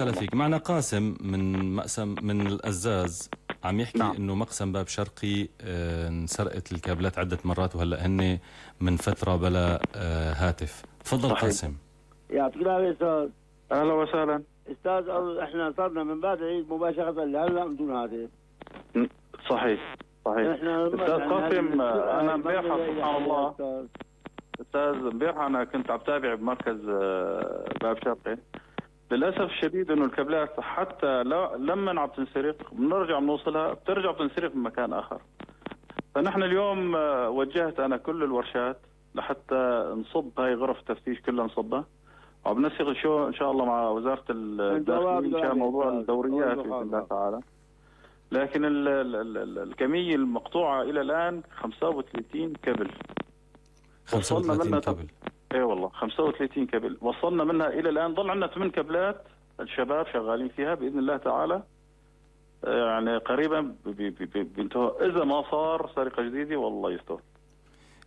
هلا فيك. معنا قاسم من مقسم من القزاز عم يحكي نعم. انه مقسم باب شرقي انسرقت الكابلات عدة مرات وهلا هن من فترة بلا هاتف. تفضل صحيح. قاسم. يعطيك العافية أستاذ. اهلا وسهلا. أستاذ احنا صرنا من بعد العيد مباشرة لهلا بدون هاتف. صحيح استاذ قاسم، انا امبارح سبحان الله استاذ امبارح انا كنت عم تابع بمركز باب شرقي. للاسف الشديد انه الكابلات حتى لما عم تنسرق بنرجع بنوصلها بترجع بتنسرق من مكان اخر. فنحن اليوم وجهت انا كل الورشات لحتى نصب هاي غرف التفتيش كلها نصبها، وعم نسق شو ان شاء الله مع وزاره الداخليه مشان موضوع الدوريات باذن الله تعالى. لكن الكميه المقطوعه الى الان 35 كابل. 35 كابل. اي والله 35 كابل وصلنا منها الى الان. ضل عندنا 8 كابلات الشباب شغالين فيها باذن الله تعالى. يعني قريبا بينتهوا اذا ما صار سرقه جديده والله يستر.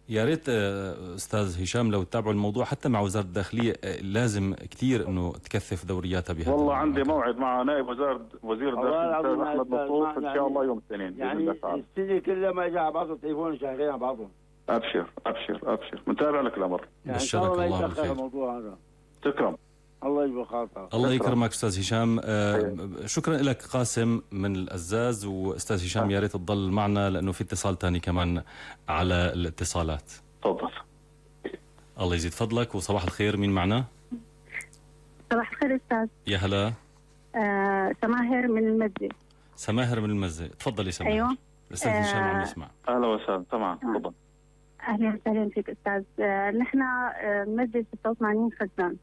يا ريت استاذ هشام لو تتابعوا الموضوع حتى مع وزاره الداخليه، لازم كثير انه تكثف دورياتها بهذا. والله عندي موعد مع نائب وزير الداخليه الاستاذ احمد مطلوب ان شاء الله يوم الاثنين باذن الله تعالى. السنه كلها ما اجى على بعضه تليفون شغالين على بعضهم. ابشر متابع لك الامر. يعني بشرك الله بالخير. الموضوع هذا. تكرم. الله يجبر خاطرك. الله يكرمك استاذ هشام. شكرا لك قاسم من القزاز. واستاذ هشام يا ريت تضل معنا لانه في اتصال ثاني كمان على الاتصالات. تفضل. الله يزيد فضلك وصباح الخير. مين معنا؟ صباح الخير استاذ. يا هلا. سماهر من المزة. سماهر من المزة، تفضلي سماهر. ايوه الاستاذ هشام عم يسمع. اهلا وسهلا. تمام تفضل. اهلا وسهلا فيك استاذ. نحن المزة 86 خزان.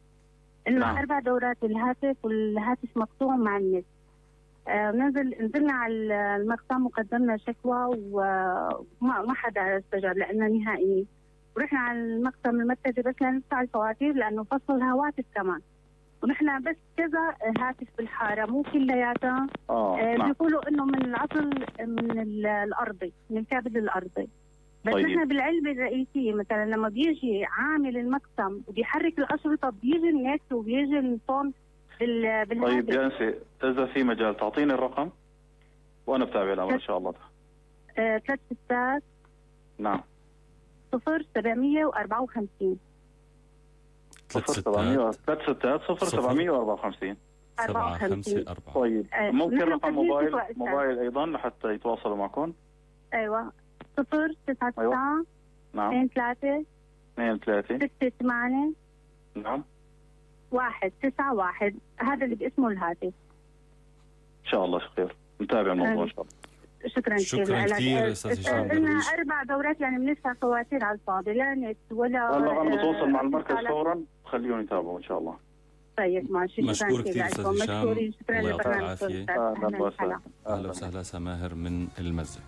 لنا 4 دورات الهاتف والهاتف مقطوع مع النت. نزلنا على المقسم وقدمنا شكوى وما حدا استجاب لنا نهائيا. ورحنا على المقسم المركزي بس لندفع الفواتير لانه فصل الهواتف كمان. ونحن بس كذا هاتف بالحاره مو كلياتها. بيقولوا انه من العطل من الارضي، من الكابل الارضي. بس طيب. نحن بالعلبه الرئيسيه مثلا لما بيجي عامل المقسم وبيحرك الاشرطه بيجي النت وبيجي الصوت بالهاتف. طيب يا انسي اذا في مجال تعطيني الرقم وانا بتابع الامر ان شاء الله. 3 ستات. نعم. 0754. 3 ستات 0754. 754. طيب ممكن رقم موبايل ايضا لحتى يتواصلوا معكم؟ ايوه 099. أيوة. نعم. 23 68. نعم 191. هذا اللي باسمه الهاتف. ان شاء الله خير. نتابع الموضوع ان شاء الله. شكرا كثير استاذ هشام. لنا 4 دورات يعني بندفع فواتير على الفاضي لا نت ولا. هلا انا بتواصل مع المركز فورا خليهم يتابعوا ان شاء الله. طيب ماشي. مشكور كثير استاذ هشام. شكرا الله يعطيك العافيه. لبرنامجكم. اهلا وسهلا سماهر من المزة.